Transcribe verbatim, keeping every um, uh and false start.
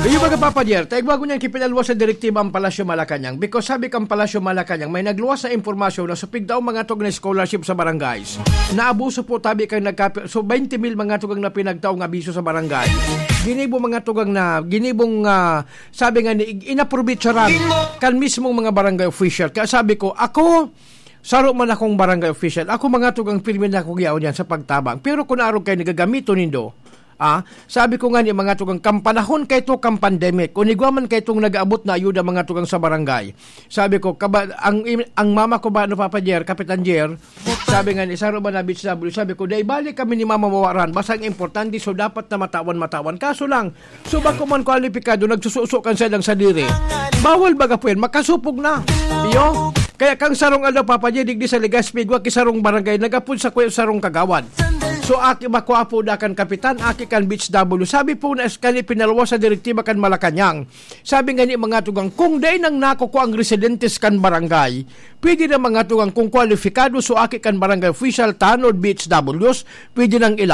Iyo, mga Papa Jer, tayo bago niyan kipinalwas sa direktiba ang Palasyo Malacanang. Because sabi kang Palasyo Malacanang, may nagluwas na impormasyon na supig daw mga tog na scholarship sa barangays. Naabuso po tabi kang nagkapi... So, twenty mil mga tugang na pinagtaong abiso sa barangay. Ginibo mga tugang na, ginibong, ah, sabi nga ni, inaprobitsaran kan mismong mga barangay official. Kaya sabi ko, ako, saro man akong barangay official. Ako mga tugang pirmi na akong yaon yan sa pagtabang. Pero kung arog kayo nagagamiton nindo, ah, sabi ko nga ni mga tugang, kampanahon kayo to, kam pandemic. Kung igwa man kayo itong nag-aabot na ayuda mga tugang sa barangay. Sabi ko, kaba, ang, im- ang mama ko ba, ano, Papa Jer, Kapitan Jer, sabi nga ni, saro ba na beach W? Sabi ko, dai balik kami ni mama mawaran. Basta ang importante, so dapat na matawan-matawan. Kaso lang, so bako man kwalipikado, nagsususo kan siya lang sa diri. Bawal baga po yan, makasupog na. Iyo, kaya kang sarong aldaw, Papa Jer, digdi sa Legazpi, igwa ki sarong barangay, nagapod sa kuya sarong kagawad. So, aki makwa po da kan kapitan, aki kan beach W. Sabi po na kani pinalwas sa direktiba kan Malacanang. Sabi nga ni mga tugang, kung dai nang nakukua ang residentes kan barangay, pwede na mga tugang kung kwalipikado so aki kan barangay official, tanod, B H Ws, pwede nang ila.